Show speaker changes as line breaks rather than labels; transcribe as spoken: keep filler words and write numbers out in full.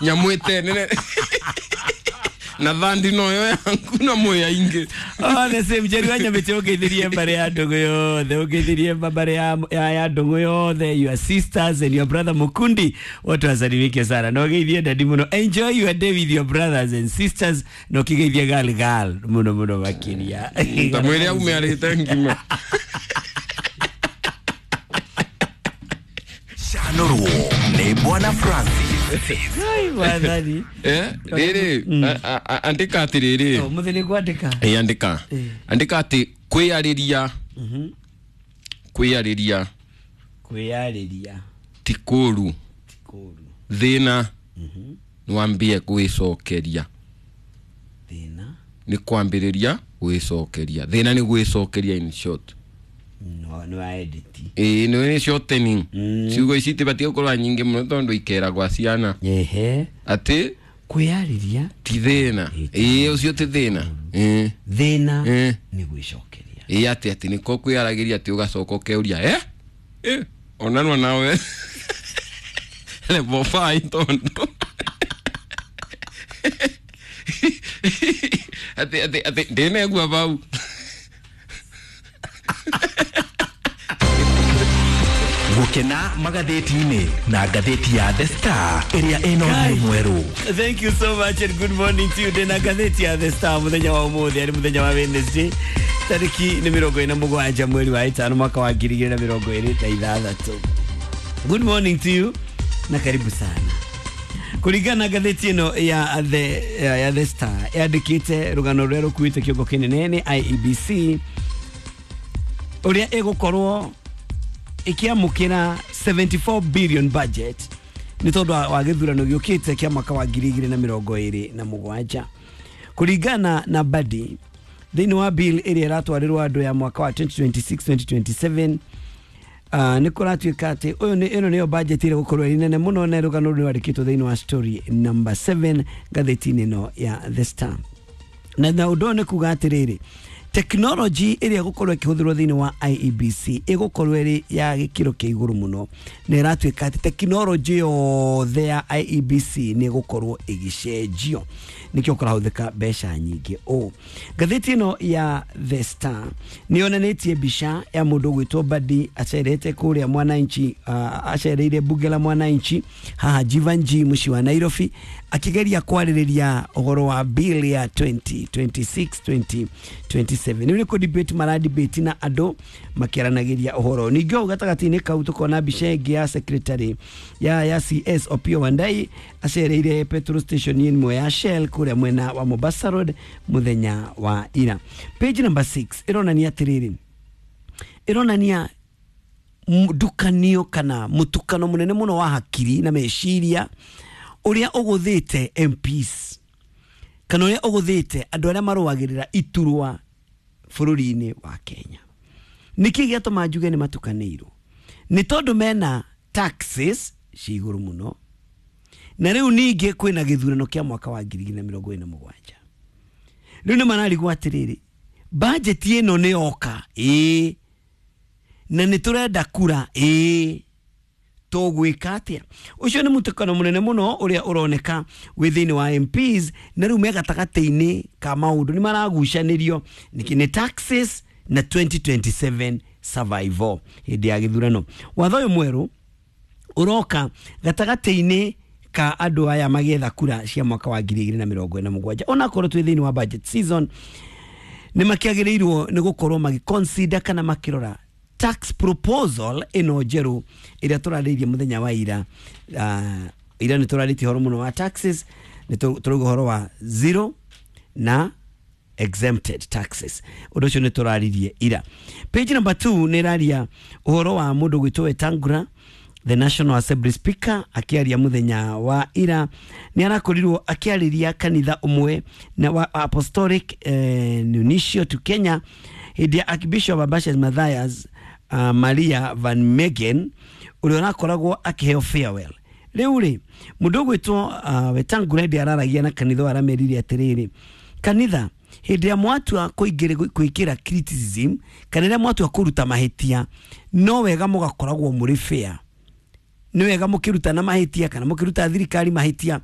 Nyamũ ĩtenene na thandi noyo yangu na mwĩ aingĩ.
Oh, the same Jerry wa Nyamĩtĩ, ũngeithirie mbarĩ ya ndũgũ yothe, ũngeithirie mbarĩ ya, ya, ya ndũgũ yothe, your sisters and your brother Mukundi, wote wasalimike sana na ũgeithie daddy mũno. Enjoy your day with your brothers and sisters na ũkĩgeithie gal gal mũno mũno makĩria.
Ta mwĩrĩ aume arĩte ngima.
Canorwo nĩ Bwana Francis.
Ai, wathani.
Eh, rĩrĩ, a- a- andĩka atĩrĩrĩ.
Oh, mũthĩ nĩ kwandĩka.
Ĩ, andĩka.
Eh.
Andĩka atĩ kwĩyarĩria, kwĩyarĩria
Kwĩyarĩria
ti kũũru.
Ti kũũru.
Thĩna nĩwambie gwĩcokeria.
Thĩna
Nĩ kwambĩrĩria gwĩcokeria. Thĩna nĩ gwĩcokeria, in short.
No nĩ wa edit.
Ĩĩ, nĩ nĩ shortening.
Mm.
Ciugo ici itibatiĩ gũkorwo nyingĩ mũno tondũ ikeragwa ciana.
Ehe.
Atĩ
Kwĩyarĩria
ti thĩna. Ĩĩ, ũcio ti thĩna. Ĩĩ.
Thĩna
Eh.
nĩ gwĩcokeria.
Ĩĩ, atĩ atĩ nĩko kwĩyaragĩria atĩ ũgacoka ũkeuria eh eh onanwa nawe level five tondũ atĩ atĩ atĩ ndĩnegua bau.
Gũkena magathĩti-inĩ na ngathĩti ya The Star ĩrĩa ĩna ũthiũ mwerũ.
Thank you so much and good morning to you. Ndĩna ngathĩti ya The Star mũthenya wa ũmũthĩ, arĩ mũthenya wa Wednesday, tarĩki nĩ mĩrongo ĩna mũgwanja mweri wa ĩtano mwaka wa ngiri igĩrĩ na mĩrongo ĩrĩ na ithathatũ. Good morning to you na karibu sana. Kũringana na ngathĩti ĩno ya The, ya, ya The Star, yandĩkĩte rũgano rũrĩa rũkuĩte kĩongo kĩnene nĩ I E B C ũrĩa ĩgũkorwo ĩkĩamũkĩra seventy-four billion budget nĩ tondũ wa wa gĩthurano gĩũkĩte kĩa mwaka wa ngiri igĩrĩ na mĩrongo ĩrĩ na mũgwanja. Kũringana na Badi, thĩinĩ wa bill ĩrĩa ĩratwarĩrwo andũ ya mwaka wa twenty twenty-six twenty twenty-seven, uh, nĩ kũratuĩka atĩ ũyũ nĩ ĩno nĩyo budget ĩrĩa gũkorwo ĩrĩ nene mũno, na rũgano rũrũ rwandĩkĩtwo thĩinĩ wa story number seven ngathĩti-inĩ ĩno ya The Star. na na ũndũ ũyũ nĩ kuga atĩrĩrĩ, technology ĩrĩa ĩgũkorwo ĩkĩhũthĩrwo thĩinĩ wa I E B C ĩgũkorwo ĩrĩ ya gĩkĩro kĩa igũrũ mũno, na ĩratuĩka atĩ technology yothe ya I E B C nĩ ĩgũkorwo ĩgĩcenjio, nĩkĩo kũrahũthĩka mbeca nyingĩ. Ũũ ngathĩti ĩno ya The Star nĩ yonanĩtie mbica ya mũndũ ũgwĩtwo Badi acerete kũrĩa Mwananchi, uh, acereire bunge la Mwananchi haha Jeevanjee, mũciĩ wa Nairobi, akĩgeria kwarĩrĩria ũhoro wa bill ya twenty twenty-six twenty twenty-seven. Nĩ kũ debate mara debate na andũ makĩaranagĩria ũhoro. Ningĩ hau gatagatĩ-inĩ kau tũkona mbica ĩngĩ ya secretary ya ya C S Opiyo Wandayi acereire petrol station ĩmwe ya Shell kũrĩa mwena wa Mombasa Road mũthenya wa ira. Page number six ĩronania atĩrĩrĩ, ĩronania ndukanio kana mũtukano mũnene mũno wa hakiri na meciria ũrĩa ũgũthĩte M Ps kana ũrĩa ũgũthĩte andũ arĩa marũagĩrĩra iturwa bũrũri-inĩ wa Kenya. Nĩkĩ gĩatũma njuge nĩ matukanĩirwo? Nĩ tondũ mena taxes ci igũrũ mũno, na rĩu ningĩ kwĩna gĩthurano kĩa mwaka wa ngiri igĩrĩ na mĩrongo ĩna mũgwanja. Rĩu nĩ mararigwo atĩrĩrĩ, budget ĩno nĩ yoka ĩĩ, na nĩ tũrenda kura ĩĩ, tũgwĩka atĩa? Ũcio nĩ mũtukano mũnene mũno ũrĩa ũroneka wĩ thĩinĩ wa M Ps, na rĩu me gatagatĩ-inĩ ka maũndũ nĩ maragucanĩrio nĩkĩ nĩ taxes na twenty twenty-seven survival hĩndĩ ya gĩthurano. Watho ũyũ mwerũ ũroka gatagatĩ-inĩ ka andũ aya magĩetha kura cia mwaka wa ngiri igĩrĩ na mĩrongo ĩna mũgwanja. Onakorwo twĩ thĩinĩ wa budget season, nĩ makĩagĩrĩirwo nĩ gũkorwo magĩ kana makĩrora tax proposal ĩno njerũ ĩrĩa tũrarĩirie mũthenya wa ira. uh, ira nĩ tũrarĩtie ũhoro mũno wa taxes, nĩ tũrauga ũhoro wa zero na exempted taxes. Ũndũ ũcio nĩ tũraririe ira. Page number two nĩ ĩraria ũhoro wa mũndũ gwĩtwo Wetangula, the National Assembly Speaker, akĩaria mũthenya wa ira. Nĩ arakorirwo akĩarĩria kanitha ũmwe na wa Apostolic eh, Nuncio to Kenya hĩndĩ ya Archbishop Abbas Mathias uh, Maria Van Megen ũrĩa ũrakoragwo akĩheo farewell. Rĩu rĩ, mũndũ ũgwĩtwo uh, Wetangula hĩndĩ araragia na kanitha ũyũ aramerire atĩrĩrĩ, kanitha, hĩndĩ ĩrĩa mwatua kũingĩra criticism kana rĩrĩa mwatua kũruta mahĩtia, no wega mũgakoragwo mũrĩ fair. Nĩ wega mũkĩrutana mahĩtia kana mũkĩruta thirikari mahĩtia.